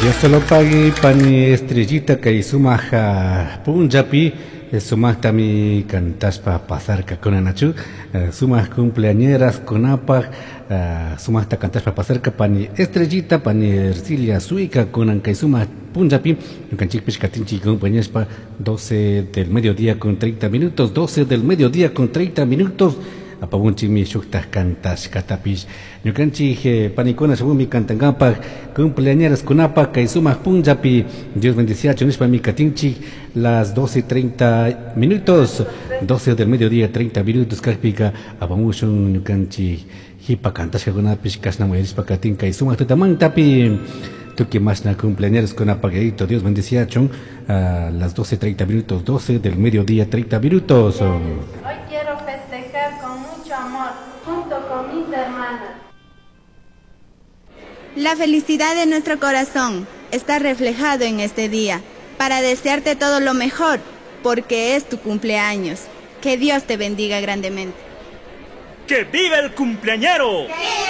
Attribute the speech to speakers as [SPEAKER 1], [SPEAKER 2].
[SPEAKER 1] Dios te lo pague, pani Estrellita kay sumaq punllapi sumaqtami cantashpa pasarkakuna, nachu? Sumaq cumpleañeras kunapaj sumaqta cantashpa pasarka pani Estrellita, pani Ercilia Suica kunan kay sumaq punllapi. Ñukanchikpish katinchik compañashpa. 12 del mediodía con 30 minutos, 12 del mediodía con 30 minutos. Apamunchikmi shuktaj cantashkatapish. Ñukanchik panikuna shamumi cantankapak cumpleañeras kunapaj kay sumaq punllapi. Dios bendeciachu nishpami katinchik. Las 12:30 minutos, 12 del mediodía 30 minutos kakpika apamushun ñukanchik hipa cantashkakunapish kashna muyarishpa katin kay sumaq tutamantapi. Tuki mashna cumpleañeros kunapaj, yayito Dios bendeciachun. A las 12:30 minutos, 12 del mediodía 30 minutos.
[SPEAKER 2] Hoy quiero festejar con mucho amor, junto con mis hermanas.
[SPEAKER 3] La felicidad de nuestro corazón está reflejado en este día, para desearte todo lo mejor, porque es tu cumpleaños. Que Dios te bendiga grandemente.
[SPEAKER 4] ¡Que viva el cumpleañero!
[SPEAKER 3] ¡Que